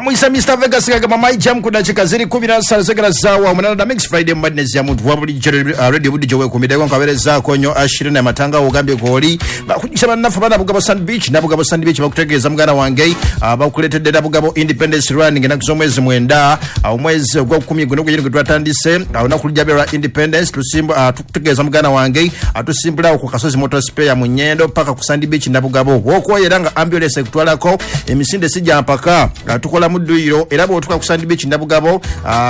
Bamuyisa Mr Vegas gagamba my jam ku dakiika ziri 17 zegera zaawa 8 da Mix Friday Madness ya muntu wa bulijjo, radio bulijjo weekumiddeko nkabeerezaako nnyo Ashirina Matanga ogambye kwoli bakujisa bannaffe ba Nabugabo Sand Beach. Nabugabo Sand Beach bakutegeeza muganda wange, bakuleetedde Nabugabo Independence Run ng'ennaku z'omwezi 9, omwezi ogwokumi guno gwenyini gwe twatandise, olunaku lujja lwa Independence. Tukutegeeza muganda wange, tusimbulawo ku Kasozi Motor Spare mu Nyendo paka ku Sand Beach Nabugabo. Wokwoyera nga ambulance ekutwalako, emisinde sijja mpaka, tukola mu dduyiro era bw'otuuka ku Sand Beach Nabugabo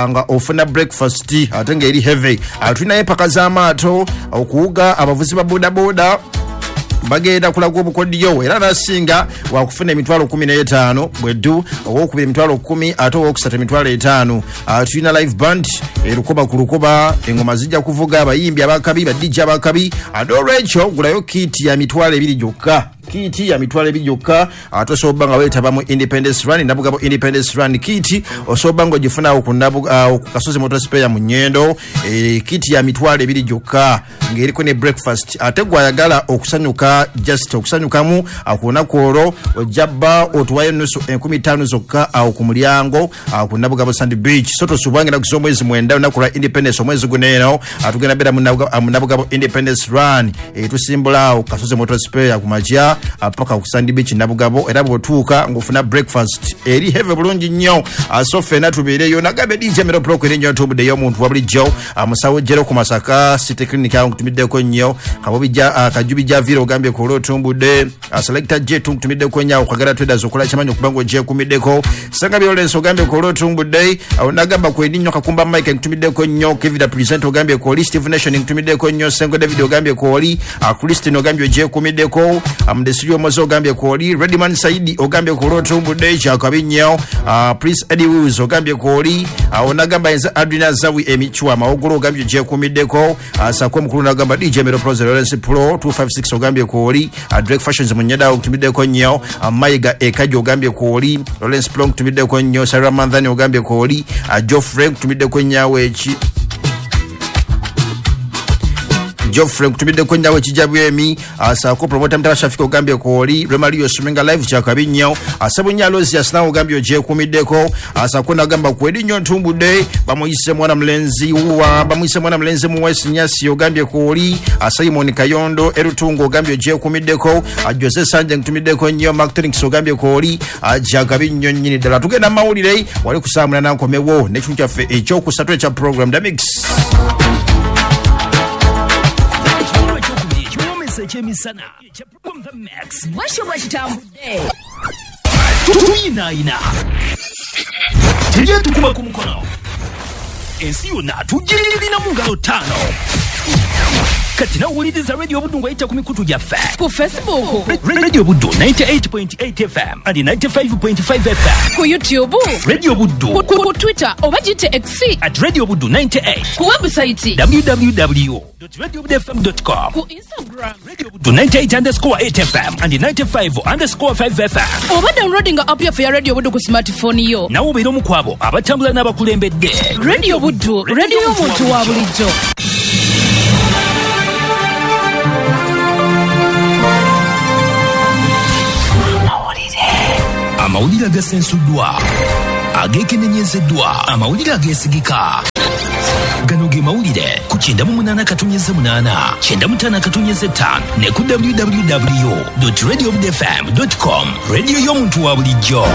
nga ofuna breakfast ate ng'eri heavy. Tulinayo empaka z'amaato, okuwuga, abavuzi ba bodaboda bagenda kulaga obukodyo era nasinga wakufuna emitwalo 15 bweddu, owokubiri emitwalo 10 ate owokusatu emitwalo 5. Tulina live band erukoba ku lukoba, engoma zijja kuvuga, abayimbi abakabi, ba DJ abakabi. Ate olwekyo gulayo kiti ya mitwalo 2 gyokka, kiti ya mitwalo 2 gyokka, ate osobola nga weetaba mu Independence Run, Nabugabo Independence Run. Kiti osobola nga ogifunawo ku Kasozi Motor Spare mu Nyendo, kiti ya mitwalo 2 gyokka ng'eriko ne breakfast. Ate gwayagala okusanyuka, just okusanyukamu ku lunaku olwo, ojja otuwayo nusu 5,000 zokka awo ku mulyango ku Nabugabo Sand Beach. So tosubwange ennaku z'omwezi 9, olunaku lwa Independence, omwezi guno eno tugenda beera mu Nabugabo Independence Run. Tusimbula awo Kasozi Motor Spare ku makya paka ku Sand Beach Nabugabo, era bw'otuuka ng'ofuna breakfast eri heavy bulungi nnyo. So ffenna tubeereyo. Nagambe DJ Mero Pro eri nnyo ntubuddeyo omuntu wa bulijjo, musawo Jero ku Masaka City Clinic awo nkutumiddeko nnyo. Kabobijja Kajubi Javiro ogambye ku olw'otumbudde. Selector J tunkutumiddeko nnyo awo Kagala Traders okola kimanyi okuba ng'ogyekumiddeko. Sanga Lawrence ogambye ku olw'otumbudde. Awo nagamba kwendi nnyo Kakumba Mike nkutumiddeko nnyo. Kevin Present ogambye ku oli. Steve Nation nkutumiddeko nnyo. Sengo David ogambye ku oli. Christine ogambye ogyekumiddeko. Mudesiri Omoze ogambye ku oli. Redman Saidi ogambye ku olw'otumbudde kyakabi nnyo. Prince Eddie Wills ogambye ku oli. Awo nagamba nze Adrina Zawi Emichwa Mawogolo ogambye ogyekumiddeko. Sako omukulu nagamba DJ Mero Pro Lawrence Pro 256 ogambye ku oli. Drake Fashions Munyeda nkutumiddeko nnyo. Mayiga Ekajo ogambye ku oli. Lawrence Pro nkutumiddeko nnyo. Sarah Mandhani ogambye ku oli. Geoffrey nkutumiddeko nnyo awo eki Geoffrey nkutumiddeko nnyo awo ekijabwemi. Sako promoter Mutaba Shafika ogambye ku oli. Romario Suminga live kyakabi nnyo. Sebunya Aloysius nawe ogambye ogyekumiddeko. Sako nagamba kweri nnyo ntumbudde. Bamuyise mwana mulenzi wa bamuyise mwana mulenzi mu West Nyasi ogambye ku oli. Simon Kayondo Erutungo ogambye ogyekumiddeko. Jose Sanje nkutumiddeko nnyo. Mark Trinks ogambye ku oli. Kyakabi nnyo nnyini ddala. Tugenda mawulire wali kusaamula nankomewo n'ekintu kyaffe ekyokusatu ekya program The Mix. Ekyemisana The Mix bwekyo bwekitambudde tuyinaayina tejja tukuba ku mukono ensi yonna tugirina mu ngalo 5. Kati nawuliriza Radio Buddu ng'oyita ku mikutu gyaffe ku Facebook Radio Buddu 98.8 FM and 95.5 FM, ku YouTube Radio Buddu, ku Twitter oba gite X at Radio Buddu 98, ku website www.radiobudufm.com, ku Instagram Radio Buddu 98_8 FM and 95_5 FM, oba downloading app yaffe ya Radio Buddu ku smartphone yo. Nawe obeera omu ku abo abatambula n'abakulembedde. Radio Buddu, radio y'omuntu wa bulijjo. Amawulire agasensuddwa, ageekenenyezeddwa, amawulire ageesigika. Gano ge mawulire ku 98.8, 95.5 ne ku www.radiobudfm.com. Radio y'omuntu wa bulijjo.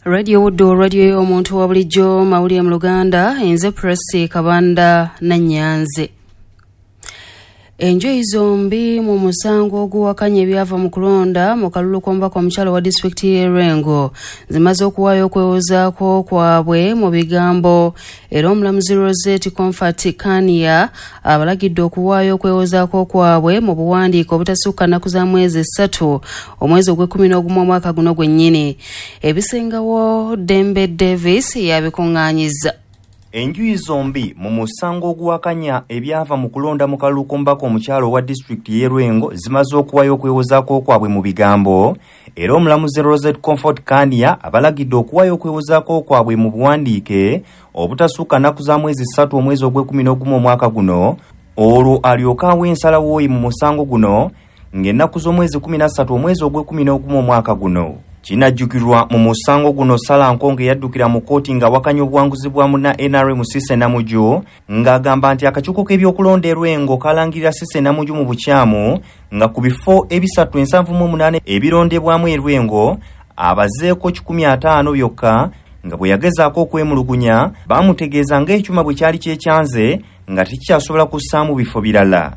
Radio Buddu, radio y'omuntu wa bulijjo. Mawulire mu Luganda, enze Presi Kabanda Nanyanze. Enjuyi zombi mu musango oguwakanya ebyava mu kulonda mu kalulu k'omubaka omukyala wa disitulikiti y'e Lwengo zimaze okuwaayo okwewozaako kwabwe mu bigambo, era omulamuzi Rosette Comfort Kania abalagidde okuwaayo okwewozaako kwabwe mu buwandiike obutasukka nnaku za mwezi 3 omwezi ogw'ekkumi n'ogumu omwaka guno gwennyini. Ebisingawo Dembe Davis yabikuŋŋaanyizza. Enjuyi zombi mu musango oguwakanya ebyava mu kulonda mu kalulu k'omubaka omukyala owa disitulikiti y'e Lwengo zimaze okuwaayo okwewozaako kwabwe mu bigambo, era omulamuzi Rosette Comfort Kania abalagidde okuwaayo okwewozaako kwabwe mu buwandiike obutasukka nnaku za mwezi 3 omwezi ogw'ekkumi n'ogumu omwaka guno, olwo alyoke awe ensalawo ye mu musango guno ng'ennaku z'omwezi 13 omwezi ogw'e11 omwaka guno. Kinajjukirwa mu musango guno Sarah Nkonge yaddukira mu kkooti ng'awakanya obuwanguzi bwa munna NRM Cissy Namujju, ng'agamba nti akakiiko k'ebyokulonda e Lwengo kalangirira Cissy Namujju mu bukyamu nga ku bifo 378 ebirondebwamu e Lwengo abazeeko 150 byokka, nga bwe yagezaako okwemulugunya baamutegeeza ng'ekyuma bwe kyali kyekyanze nga tekikyasobola kussaamu bifo birala.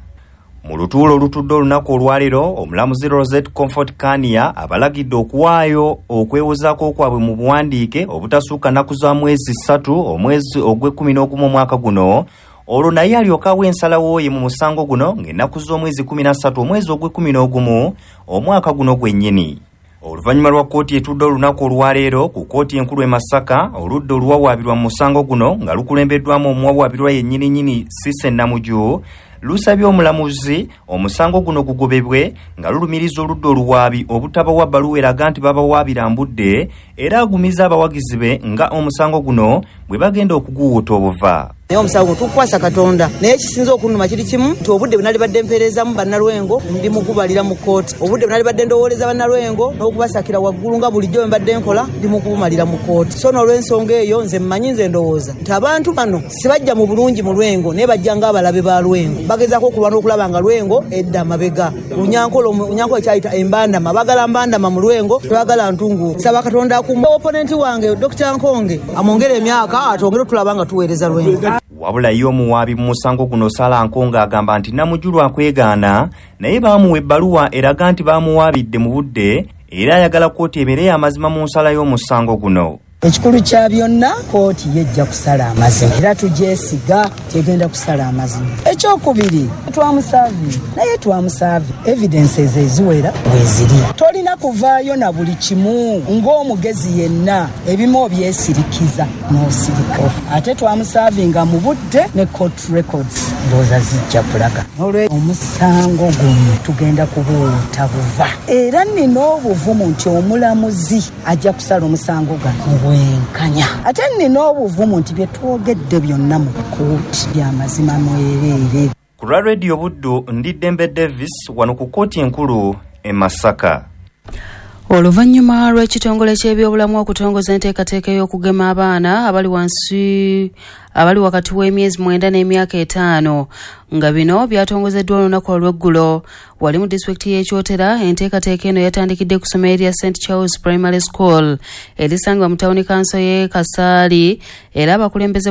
Mu lutuulo olutudde olunaku olwaleero, omulamuzi Rosette Comfort Kania abalagidde okuwaayo okwewozaako kwabwe mu buwandiike obutasukka nnaku za mwezi 3 omwezi ogw'e11 omwaka guno, olwo naye alyoke awe ensalawo ye mu musango guno ng'ennaku z'omwezi 13 omwezi ogw'e11 omwaka guno gwennyini. Oluvannyuma lwa kkooti etudde olunaku olwaleero ku kkooti enkulu e Masaka, oludda oluwawaabirwa mu musango guno nga lukulembeddwamu omuwawaabirwa yennyininyini Cissy Namujju lusabye omulamuzi omusango guno gugobebwe nga lulumiriza oludda oluwaabi obutabawa bbaluwa eraga nti babawaabira mbudde, era agumiza abawagizi be nga omusango guno bwe bagenda okuguwuuta obuva. Naye omusango tukukwasa Katonda, naye ekisinza okunnuma kiri kimu nti obudde bwe nalibadde mpeerezamu bannalwengo ndi mukubalira mu kkooti, obudde bwe nalibadde ndowooleza bannalwengo n'okubasakira waggulu nga bulijjo bwe mbadde nkola ndi mukubumalira mu kkooti. So n'olw'ensonga eyo nze mmanyi, nze ndowooza nti abantu bano sibajja mu bulungi mu Lwengo, naye bajja ng'abalabe ba Lwengo, bagezaako okulwana okulaba nga Lwengo edda amabega. Lunyankole kyayita embandama, baagala mbandama mu Lwengo, tebagala ntungu. Saba Katonda akuume oponenti wange Dr. Nkonge amwongere emyaka atwongere otulaba nga tuweereza Lwengo. Wabula ye omuwaabi mu musango guno Sarah Nkonge agamba nti Namujju lwakwegaana, naye baamuwa ebbaluwa eraga nti baamuwaabidde mu budde, era ayagala kkooti ebeere amazima mu nsala y'omusango guno. Ekikulu kya byonna kkooti yejja kusala amazima, era tugyesiga tegenda kusala amazima. Ekyokubiri twamusaavi, naye twamusaavi evidences eziwera weeziri. Tolina kuvaayo na buli kimu ng'omugezi yenna, ebimu obyesirikiza n'osirika. Ate twamusaavinga mu budde ne court records ndowooza zijja kulaga. Olwe omusango guno tugenda kubuwuuta buva, era nnina obuvumu nti omulamuzi ajja kusala omusango gano bwenkanya. Ate nnina obuvumu nti bye twogedde byonna mu kkooti by'amazima mwereere. Ku lwa Radio Buddu, ndi Dembe Davis wano ku kkooti enkulu e Masaka. Oluvannyuma lw'ekitongole ky'ebyobulamu okutongoza enteekateeka ey'okugema abaana abali wansi abali wakati w'emyezi 9 n'emyaka 5, nga bino byatongozeddwa olunaku olw'eggulo wali mu disitulikiti y'e Kyotera. Enteekateeka eno yatandikidde ku ssomero lya St Charles Primary School erisangibwa mu tawuni kanso y'e Kasaali, era abakulembeze